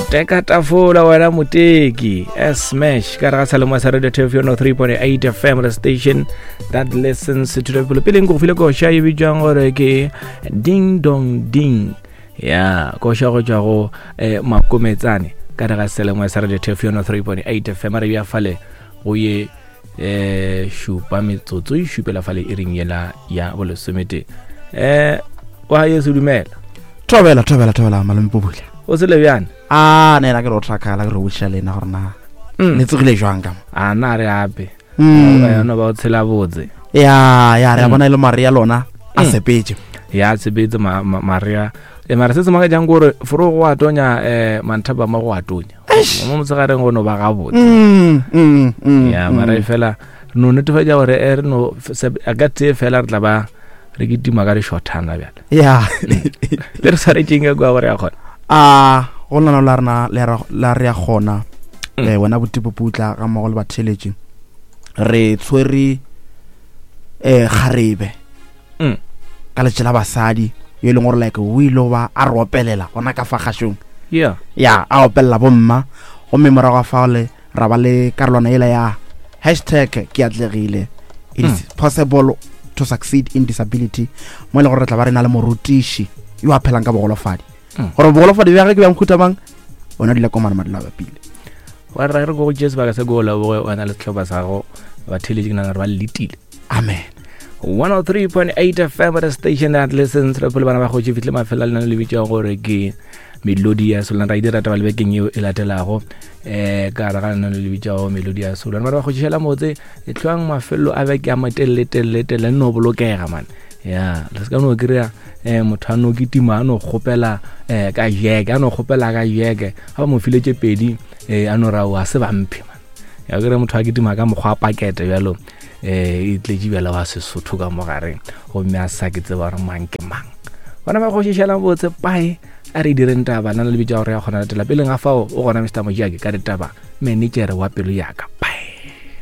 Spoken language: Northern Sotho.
Teka tafola wena moteki smash ka re ga salomo sa radio tf 103.8 fm the station that listens to the people. Peleng go file koša e bitswang gore ke ding dong ding, ya koša go tšwa go makometsane ka re ga selemo sa radio tf 103.8 fm. Re bja fale go ye šupa metsotso e šupela fale e reng yela ya bolesomete. Wa Yesu, dumela. Thobela, thobela, thobela, malome Pubula. O sele bjane? A ne la ke re o trakala, ke re botšiša lena gore na le tsogile jwang ka mo. A na re ape yona ba o tshela botse. Ya, re a bona e le mare ya lona a sepetse. Ya sepetse marea e mara se se makatšang kore foro go a tonya, manthapa ma go a tonya mo motshegareng, go no ba gabotse. Ya mara e fela re no netefatša gore e re no a ka tee fela re tla ba re kitima ka lešothana bjale. Le re swaretšeng ka kua gore ya kgona? A go lona la rena la re ya kgona. Wena botipoputla ga mmogo le batheeletši, re tshwere kgarebe ka letše la basadi yo e leng gore like o ile ba a re opelela gona ka fa kgašong. Ya, a opelela bomma, gomme morago ga fao le ra ba le karolwana ela ya hashtag ke atlegile, it is possible to succeed in disability, mo e leng gore re tla ba re na le morutiši yo a phelang ka bogolofadi, gore bogolofadi bja ge ke bja mohuta mang, wena dula komana madula bapile. Wa re re go tšee sebaka se ko leboge wena le sehlopha sa go batheeletši, ke nagana gore ba letile. Amen. 103.8 FM, the station that listens. Re phele bana ba kgotše fihle mafelo a lena le bitšang gore ke melodi ya solana, ra e dira taba le bekeng yeo e latelago ka gare ga lena le bitšago melodi ya solana. Bana ba kgotšišela motse e tlhoang mafelo a beke a matelele telele telele, nno bolokega man. Ya le se ka no kry-a motho a no kitima a no kgopela ka jeke, a no kgopela ka jeke, ga ba mo file tše pedi a no ra a se bamphe man. Ya kry motho a kitima ka mokgwa wa pakete bjalo, e tletše bjalo wa Sesotho ka mo gareng, gomme a sa ke tseba gore mang ke mang. Bana ba kgošišela botse pae a re direng taba nna le bitša gore ya kgona latela peleng ga fao o gona Mr Mojiake ka ditaba, managere wa pelo yaka. Bye.